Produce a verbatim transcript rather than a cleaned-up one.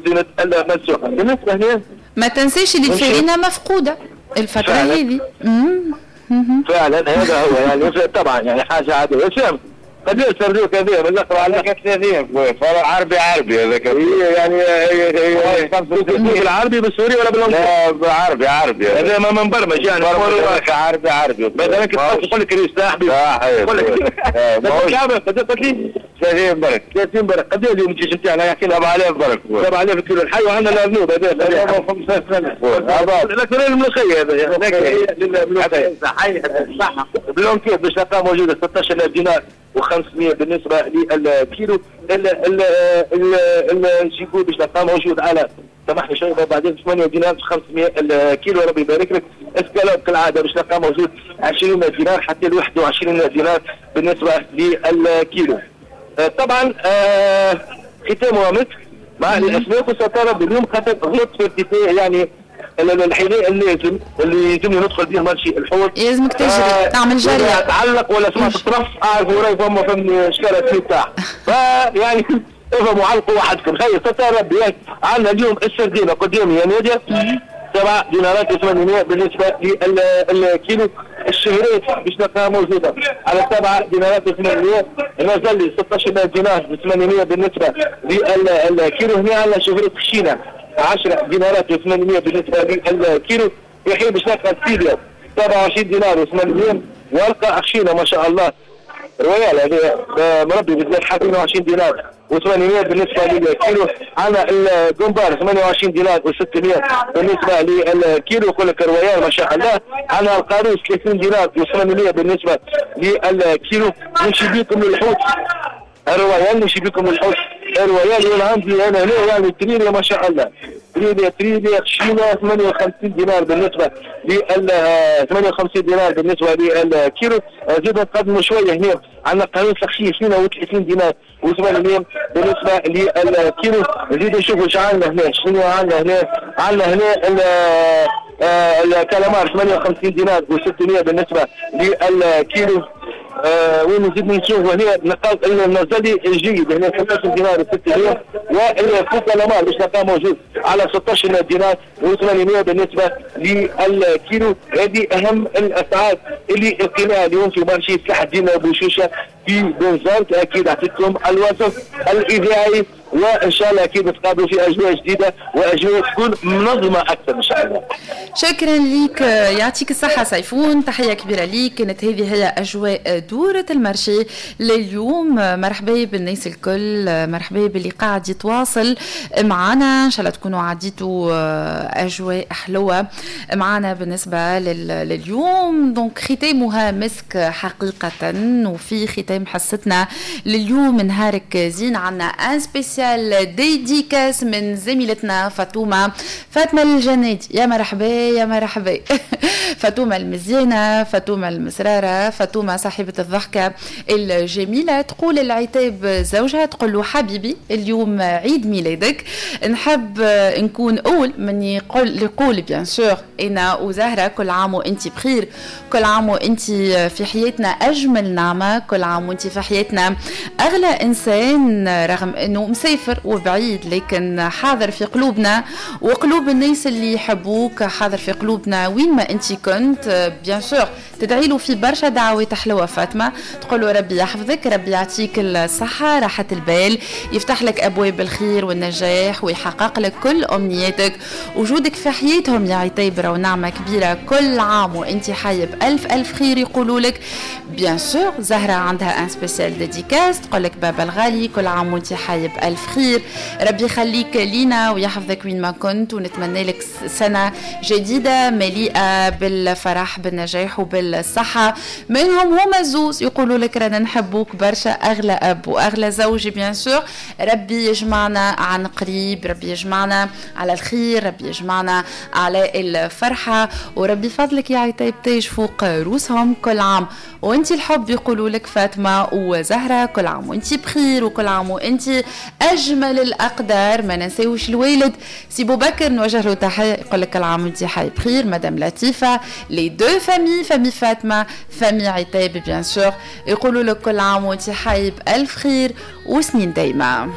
رزينه الملسوقه. بالنسبة هنا ما تنساش اللي الفرينة مفقودة الفترة هذه. فعلا هذا هو يعني طبعا يعني حاجة عادية. هشام قداش سردوك هذا من الاخر على ثلاثين عربي عربي هذاك يعني بالعربي بالسوري ولا بالانجليزي؟ لا عربي عربي هذا ما مبرمج يعني عربي عربي مثلا كي تقول لك ريس صاحبي يقول لك قداش قلت لي؟ ثلاثين برك ثلاثين برك. قداش اليوم الجيش نتاعنا يحكي لنا سبعة آلاف برك سبعة آلاف كيلو الحي وعندنا الارنوب هذا لكن الملوخية هذا الملوخية صحيح صح blanquette باش تلقاه موجودة ستة عشر ألف دينار وخمسمية بالنسبة للكيلو. ال gigot باش تلقاه موجود على سامحني شوية بعدين ثمانية دينار خمسمية الكيلو ربي يبارك لك. اسكالوب كالعادة باش تلقاه موجود عشرين دينار حتى ل واحد وعشرين دينار بالنسبة للكيلو. طبعا ختامها مسك مع الاسماك وسترى اليوم خاطر غلط في ارتفاع يعني الحذاء اللازم اللي يلزمني ندخل به marché الحوت. يلزمك تجري آه تعمل جري تعلق ولا سمعت الطرف اعرف وراي فما فهمني شكالة تاع فيعني افهموا علقوا وحدكم. خير ستة ربي عندنا اليوم السردينه قدامي يا ناديه سبعة دينارات وثمانمية بالنسبة للكيلو. الشهريت باش نلقاها موجودة على سبعة دينارات وثمانمية. النزلي ستة عشر دينار وثمانمية بالنسبة للكيلو. هنا عندنا شهريت خشينه عشرة دينارات وثمانمية بالنسبة للكيلو. في حين باش نلقى السيليا سبعة وعشرين دينار وثمانمية ورقة خشينه ما شاء الله royale هذه مربي بالذات اثنين وعشرين دينار وثمانمية بالنسبة للكيلو. عندنا الجمبار ثمانية وعشرين دينار وستمية بالنسبة للكيلو يقول لك royale ما شاء الله. عندنا القاروص ثلاثين دينار وثمانمية بالنسبة للكيلو. نمشي بكم للحوت ال royale، نمشي بكم للحوت ال royale. وانا عندي انا هنا يعني تريليا ما شاء الله تريليا تريليا خشينه ثمانية وخمسين دينار بالنسبة لل ثمانية وخمسين دينار بالنسبة للكيلو. زيد نقدموا شوية هنا عندنا قاروص خشين اثنين وثلاثين دينار وثمانمية بالنسبة للكيلو. نزيد نشوفوا اش عندنا هنا، شنو عندنا هنا؟ عندنا هنا الكالامار ثمانية وخمسين دينار وستمية بالنسبة للكيلو. آه وين نزيد نشوفوا هنا نلقاو النزلي الجيد هنا ستة عشر دينار وستمية وال faux calamar باش نلقاه موجود على ستة عشر دينار وثمانمية بالنسبة للكيلو. هذه اهم الاسعار اللي لقيناها اليوم في marché سلاح الدين بوشوشه في بنزرت. اكيد اعطيتكم الوصف الاذاعي وان شاء الله اكيد نتقابلوا في اجواء جديدة واجواء تكون منظمة اكثر ان شاء الله. شكرا لك، يعطيك الصحة سيفون، تحية كبيرة ليك. كانت هذه هي اجواء دوره ال marché لليوم. مرحبا بالناس الكل، مرحبا باللي قاعد يتواصل معنا، ان شاء الله تكونوا عديتوا اجواء حلوة معنا بالنسبة لليوم. donc ختامها مسك حقيقة، وفي ختام حصتنا لليوم نهارك زين عنا un spécial dédicace من زميلتنا فاطمة فاطمة الجنادي. يا مرحبا يا مرحبا فاطمة المزيانة، فاطمة المسرارة، فاطمة صاحبة الضحكة الجميلة. تقول العتاب زوجها، تقول له حبيبي اليوم عيد ميلادك، نحب نكون أول من يقول يقول bien sûr أنا وزهرة كل عام وأنت بخير، كل عام وأنت في حياتنا أجمل نعمة، كل عام وأنت في حياتنا أغلى إنسان، رغم أنه مسافر وبعيد لكن حاضر في قلوبنا وقلوب الناس اللي يحبوك، حاضر في قلوبنا وين ما أنت كنت. bien sûr تدعي له في برشا دعوات حلوة فاطمة، تقول له ربي يحفظك، ربي يعطيك الصحة، راحة البال، يفتح لك أبواب الخير والنجاح ويحقق لك كل أمنياتك. وجودك في حياتهم يا عتيبرة ونعمة كبيرة، كل عام وانت حي بألف ألف خير يقولوا لك. bien sûr زهرة عندها un spécial dédicace، تقول لك بابا الغالي كل عام وانت حي بألف خير، ربي يخليك لينا ويحفظك وين ما كنت، ونتمنى لك سنة جديدة مليئة بالفرح بالنجاح وبالصحة. منهم هما زوز يقولوا لك رانا نحبوك برشا، أغلى أب وأغلى زوج bien sûr، ربي يجمعنا عن قريب، ربي يجمعنا على الخير، ربي يجمعنا على الفرحة، وربي فضلك يا عتيب تاج فوق روسهم كل عام وانت الحب. يقولوا لك فاطمة وزهرة كل عام وانت بخير، وكل عام وانت أجمل الأقدار. ما ننساوش الوالد سي بوبكر نوجه له تحية، يقول لك كل عام وانت حي بخير. مدام لطيفة، les deux familles، famille فاطمة famille عتيب bien sûr، يقولوا لك كل عام وانت حي بألف خير وسنين دايمة.